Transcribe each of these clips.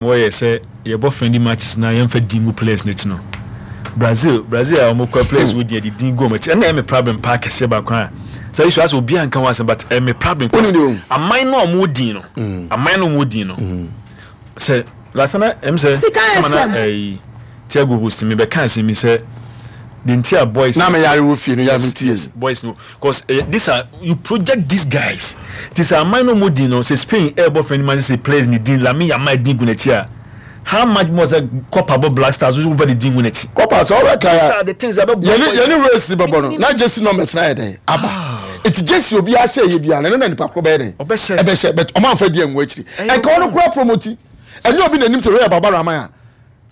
Wɔyɛ sɛ yɛbɔ friendly matches na yɛnfa din ngu players no akyi no. Brazil Brazil a wɔn kura players wɔ din yɛde din gu wɔn akyi ɛna ɛyɛ me problem paa kɛseɛ baako a sɛ issue asɛ obiara nka ho asɛm but ɛyɛ me problem cause aman no a wɔn wɔ din no aman no a wɔn wɔ din no sɛ last na ɛm sɛ sama na ɛyi Thiago host mi bɛka asɛm mi sɛ the nti a boys na me yare wɔ fie no yare me tie boys no. Cause eh, this are you project these guys. Ti sɛ aman no mo din no sɛ Spain ɛɛbɔ friendly match sɛ players ne din Lamine Yamal din gu n'akyi a how much more sɛ Copa bɔ Black Stars wo fa ne din gu n'akyi. Copa sɛ ɔbɛ ka ya. The things abɛ bɔ. Yɛne yɛne race bɛbɔ no na jersey numbers na yɛ dɛn aba. Eti jersey obi ahyɛ yɛ bia na ɛno na nipa koro bɛyɛ dɛn. Ɔbɛhyɛ. Ɛbɛhyɛ but ɔmo anfa di ɛngu akyiri. Ɛnka ɔno kura promote. Ɛnyɛ obi na nim sɛ wei yɛ Baba Rahman a.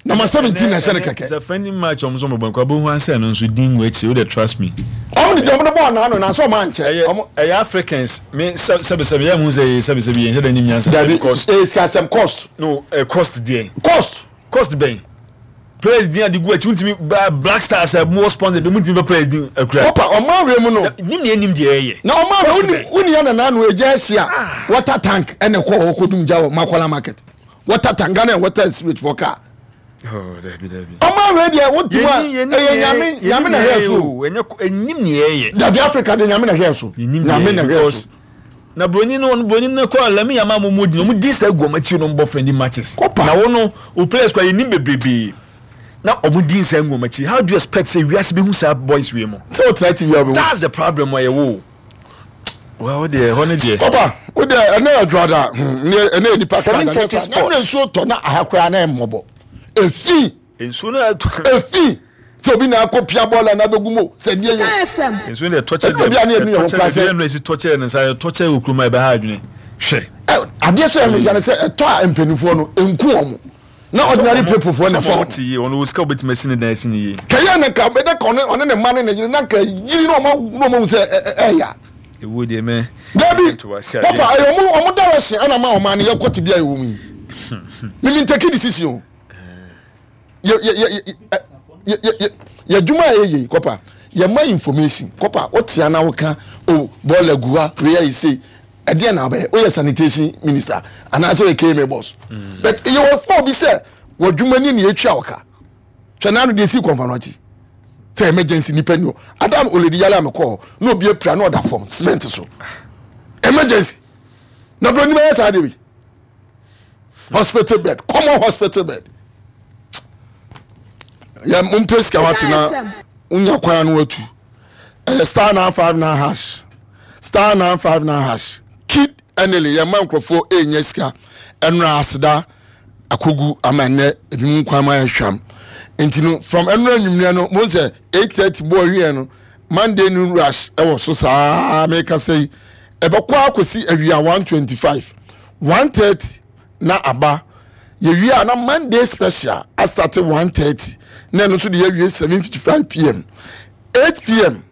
Number 17 na ɛhyɛ no kɛkɛ. Sɛ friendly match ɔmo nso ɔmo bɔ nkwa bohu ansɛ no nso din wɔ akyire wo de trust me. Ɔmo de deɛ ɔmo de bɔɔ naano na sɛ ɔmo ankyɛ. Ɛyɛ ɛyɛ Africans me sɛ sɛbi sɛbi yɛ mu sɛ yɛ sɛbi sɛbi yɛn hyɛ dɛ nim nyansa. Dabi ɛyɛ sikasɛm cost. No ɛ cost deɛ. Cost. Cost bɛn players din ade gu akyi wontumi Black Stars ɛ mo sponsor bi mo ntumi bɛ players din akura. Kopa ɔmo awie mu no. Nim nea nim deɛ ɛyɛ. Na ɔmo awie woni woni yɛ na naano egya ahyia water tank ɛna ɛkɔ hɔ kɔ dum gya wɔ Makola market. Water tank Ghana and water and sewage for car. Oh, dabi dabi. Ɔmo awie deɛ wo ti mu a ɛyɛ nyame nyame na hwɛ so. Ɛnyɛ enim nea ɛyɛ. Dabi Africa de nyame na hwɛ so. Nyame na hwɛ so. Na broni no broni no kɔ lami yama mo mo di no mo di sɛ gu ɔmo akyi no bɔ friendly matches. Kopa. Na wo no o players kɔ yɛ nim bebrebe. Na ɔmo di nsɛn gu ɔmo akyi. How do you expect sɛ wiase bi hu saa boys wei mo? Sɛ o tena TV a ɔbɛ hu. That's the problem ɔyɛ wo. Well, wo deɛ ɛhɔ ne deɛ. Papa, wo deɛ ɛnɛ yɛ dwoada, hmm, ɛnɛ yɛ nipa kra da, nyɛ saa. Na nsuo tɔ na aha koraa na ɛmmɔbɔ. Efi. Nsuo no ɛtɔ. Efi. Sɛ obi na akɔ pia bɔɔla na abɛgu mu sɛ deɛ yɛ. Nsuo no ɛtɔ kyɛ deɛ. Ɛtɔ kyɛ deɛ ɛnu esi tɔ kyɛ ne nsa ɛtɔ kyɛ wɔ kurom a ɛbɛha adwene. Hwɛ. Adeɛ so yɛ no yɛ sɛ ɛtɔ a mpanimfoɔ no nku wɔn. Na ordinary people foɔ na ɛfa wɔn. Sɛ wɔn te yie, wɔn wɔ sika wɔbɛtumi asi ne dan asi ne yie. Kɛyɛ na nka bɛdɛ ka ɔne ɔne ne mma ne ne yere na nka yiri na ɔma na ɔma hu sɛ ɛɛya. Ewu deɛ mɛ. Dabi papa ɛyɛ ɔmo ɔmo direction ɛna ma ɔmo ani yɛ kɔ te bi a ɛwɔ mu yi. Mimi ntɛki decision o. Yɛ yɛ yɛ yɛ yɛ yɛ adwuma a yɛyɛ yi kɔpa yɛ ma information kɔpa wotia na woka o bɔɔla gu ha wei ayɛ sei. Ɛdeɛn na wobɛyɛ? Woyɛ sanitation minister anaasɛ woyɛ KMA boss? Mm. But yɛwɔ fɔ bi sɛ w'adwuma ni na yɛtua wo ka. Hwɛ n'ano deɛ ɛsii kɔmfa no akyi sɛ emergency nipa ni hɔ. Adam oledi yale a mekɔɔ hɔ na obi apira na ɔda fam cement so. Emergency. Na broni bɛyɛ saa deɛ bi. Hospital bed, common hospital bed. Yɛ mompɛ sika wate na wonya kwan no atu. Ɛyɛ star 959 hash star 959 hash kid ɛnele yɛn mma nkurɔfoɔ ɛnya sika ɛnura aseda akogu ama ɛnɛ ebi mu nkwan ma ɛhwam nti no from ɛnura nwumire no mo sɛ 8:30 bɔɔ wiɛ no Monday noon rush ɛwɔ so saa meka sɛ yi ɛbɛkɔ akɔsi awia 1:25 1:30 na aba yɛwie a na Monday special asate 1:30 na ɛno nso de yɛawie 7:55 pm 8 pm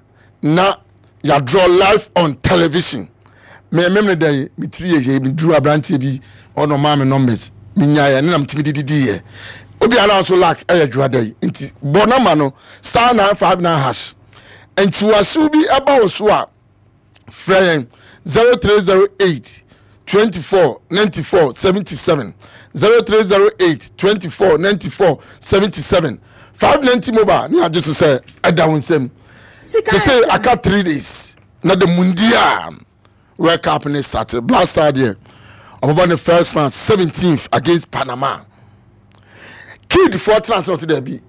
na yɛadraw live on television me memene da yi me tiri yɛ yɛ meduru aberanteɛ bi ɔna ɔmaa me numbers menyaeɛ ne na metumi de didiiɛ obi ara nso luck ɛyɛ dwoa da yi nti bɔ nama no star 959 hash nkyiwahyew bi ɛba wo so a frɛ yɛn 0308 24 94 77 0308 24 94 77 590 mobile ne agye so sɛ ɛda wo nsam te sɛ aka 3 days na the mundia world cup ne start black star deɛ ɔbɛbɔ ne first match 17th against panama Kid foɔ tena ase na ɔte daabi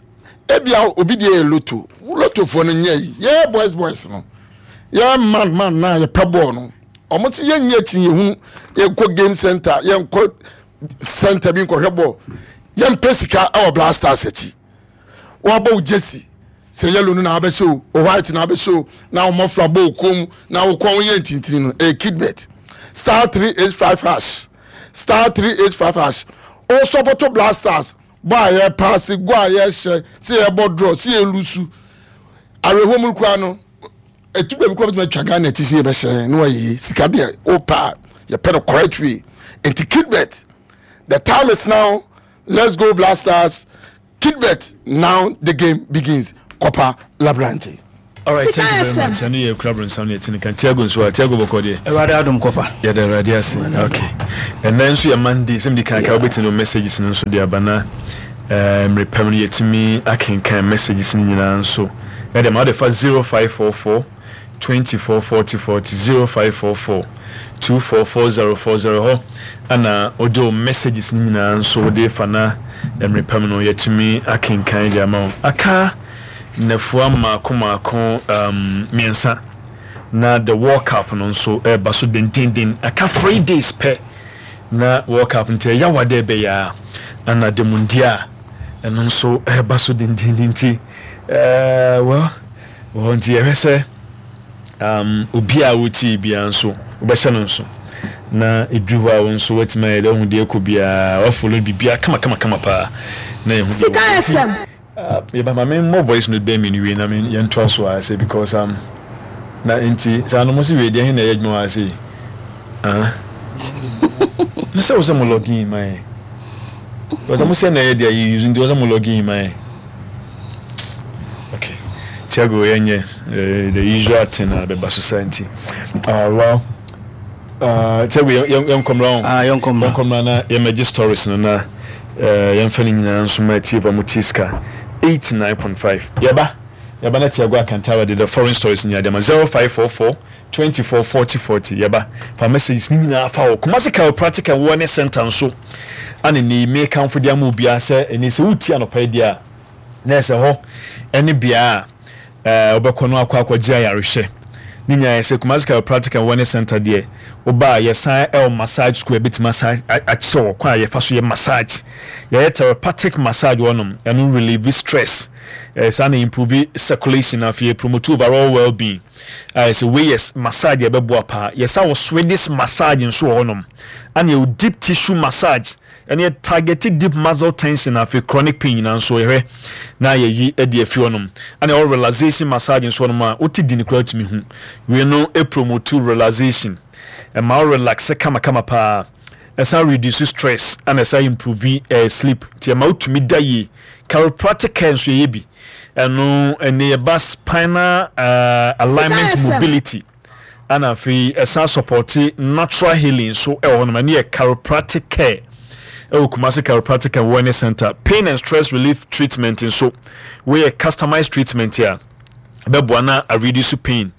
ebia obi deɛ yɛ loto loto foɔ no nyɛ yi yɛ boys boys no yɛ man man na yɛpɛ bɔɔl no wɔn ti yɛ nyɛ akyi yɛ hunu yɛnkɔ game center yɛnkɔ center bi nkɔhwɛ bɔɔl yɛmpɛ sika ɛwɔ black stars akyi wɔabɔ wo jersey sɛ yellow no na abɛhyɛ o o white na abɛhyɛ o na wɔn mɔfra bɔ o kɔn mu na wo kɔn yɛ ntintini no ɛyɛ kidbet star 385 hash star 385 hash o sɔpɔtɔ black stars bɔ a yɛ paase go a yɛhyɛ sɛ yɛbɔ draw sɛ yɛlusu awerɛhoɔ mu koraa no ɛtu baabi koraa bɛtumi atwa Ghana ti sɛ yɛbɛhyɛ na wayɛ sika deɛ wopɛ a yɛpɛ no correct way nti kidbet the time is now. Let's go Black Stars, Kidbet now the game begins Kopa Labrante. Alright, thank you very much. Ɛno yɛ kura bronsam ne ɛte ne kan. Tiago nso a, Tiago bɔkɔ deɛ. Awurade adom kɔpa. Yɛda Awurade ase. Okay. Ɛnɛ nso yɛ Monday, sɛ mede kan ka wobɛtumi no messages no nso de aba na eh, mmerɛ pɛm no yɛtumi akenkan messages no nyinaa nso. Ɛde ma wode fa 0544 24 40 40 0544 244040 hɔ ana wode wo messages no nyinaa nso wode fa na mmerɛ pɛm no yɛtumi akenkan de ama wo. Aka nnafua mmaako mmaako mmiɛnsa na the World Cup no nso ɛreba so dendenden. Aka 3 days pɛ na World Cup, nti ɛyɛ wa dɛ ɛbɛyɛ a ana the Mundial ɛno nso ɛreba so dendenden. Nti well, wɔ nti yɛhwɛ sɛ obi a wotie biara nso wobɛhyɛ no nso na ɛduru hɔ a, wo nso woatumi ayɛ dɛ wohu deɛ ɛkɔ biara, wafollow biribiara kama kama kama paa na yɛhu deɛ Sika wɔ. Nti FM. Yɛba ma memmɔ voice note bɛɛ mmienu wei na yɛntoa so a sɛ because na nti saa no mo se wei deɛ he na ɛyɛ adwuma wɔ ase yi, ah, na sɛ wo sɛ mo login ma yɛ because mo sɛ na ɛyɛ deɛ yɛ use, nti wɔ sɛ mo login ma yɛ. Okay, Tiago, yɛnyɛ the usual thing a bɛba so saa. Nti well, Tiago, yɛnkɔmmra ho. Ah, yɛnkɔmmra. Yɛnkɔmmra na yɛmmɛgye stories no na yɛmfa no nyinaa nso ma atiefo a motie Sika 89.5. Yɛba na Tiago Akantara de the foreign stories nyinaa de ama. 0544 24 40 40. Yɛba fa messages ne nyinaa fa wɔ Kumasi Chiropractic and Wellness Center nso ane ne mekamfo de ama obiara sɛ ɛne sɛ wotie anɔpa yi deɛ a, na ɛsɛ hɔ ɛne bea a wobɛkɔ no akɔ akɔgye ayarehwɛ ne nyinaa. Yɛ sɛ Kumasi Chiropractic and Wellness Center deɛ, woba a, yɛsan ɛwɔ massage school, ɛbɛtumi asa akyerɛ wɔ kwan a yɛfa so yɛ massage. Yɛyɛ therapeutic massage wɔnom, ɛno relieve stress, saa na improve circulation, afei promote overall well-being. A yɛsɛ wei yɛ massage a ɛbɛboa paa. Yɛsa wɔ Swedish massage nso wɔ hɔnom, ana yɛwɔ deep tissue massage, ɛne yɛ target deep muscle tension, afei chronic pain nyinaa nso yɛhwɛ na yɛyi de afi hɔnom. Ana yɛwɔ relaxation massage nso hɔnom a wote di ne koraa tumi hu. Wei no promote relaxation, ɛma wo relax kamakama paa, ɛsan reduce stress, ana ɛsan improve sleep, nti ɛma wotumi da yie. Chiropractic care nso yɛyɛ bi, ɛno ɛne yɛba spinal alignment, Sika FM. mobility, ana afei ɛsan support natural healing nso ɛwɔ hɔnom. Ɛne yɛ chiropractic care ɛwɔ Kumasi Chiropractic and Wellness Center. Pain and stress relief treatment nso, wɔyɛ customized treatment a ɛbɛboa na a reduce pain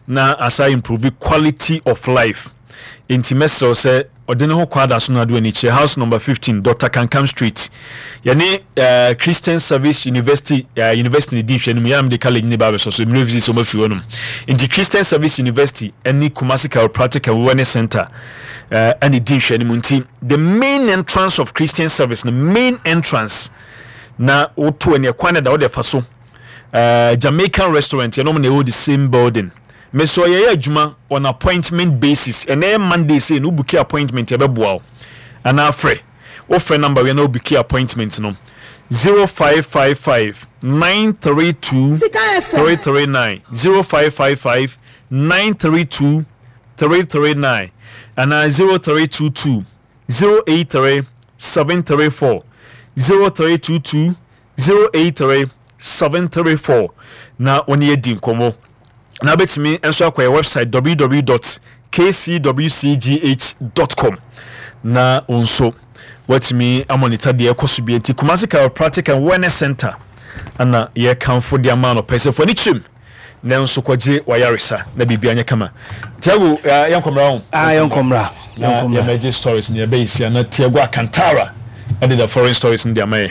na asa improve quality of life. Nti mɛsrɛw sɛ ɔde ne ho kɔ ada so no ado ani kyerɛ house number 15, Dr Kankam Street, yɛne Christian Service University, university ne di nhwɛ no mu. Yɛn de college ne ba abɛsɔ so university sɛ ɔmafiri hɔnom. Nti Christian Service University ne Kumasi Chiropractic and Wellness Center ɛne di nhwɛ no mu. Nti the main entrance of Christian Service no, main entrance na woto ɛne ɛkwan no da wode fa so, Jamaican restaurant yɛnom na ɛwɔ the same building. Mesɛ ɔyɛyɛ adwuma on appointment basis. Ɛnɛ yɛ Monday sei no, wobook appointment, ɛbɛboa wo. Anaa frɛ, wofrɛ number wei na wobook appointment no: 0555 932 Sika FM. 339, 0555 932 339, anaa 0322 083 734, 0322 083 734, na wɔne yɛdi nkɔmmɔ. Na wobɛtumi nso akɔ yɛ website www.kcwcgh.com na wo nso woatumi amonitor deɛ ɛkɔ so bia. Nti Kumasi Chiropractic and Wellness Center ana yɛkamfo de ama no pɛ sɛ fo ani kyerɛm nanso kɔgye wayaresa na biribia nyɛ kama. Tiago, yɛnkɔmmra ho. Ah, yɛnkɔmmra. Na yɛnkɔmmra. Yɛmɛgye stories ne yɛbɛyɛ sia na Tiago Akantara ɛde the foreign stories no de ama yɛ.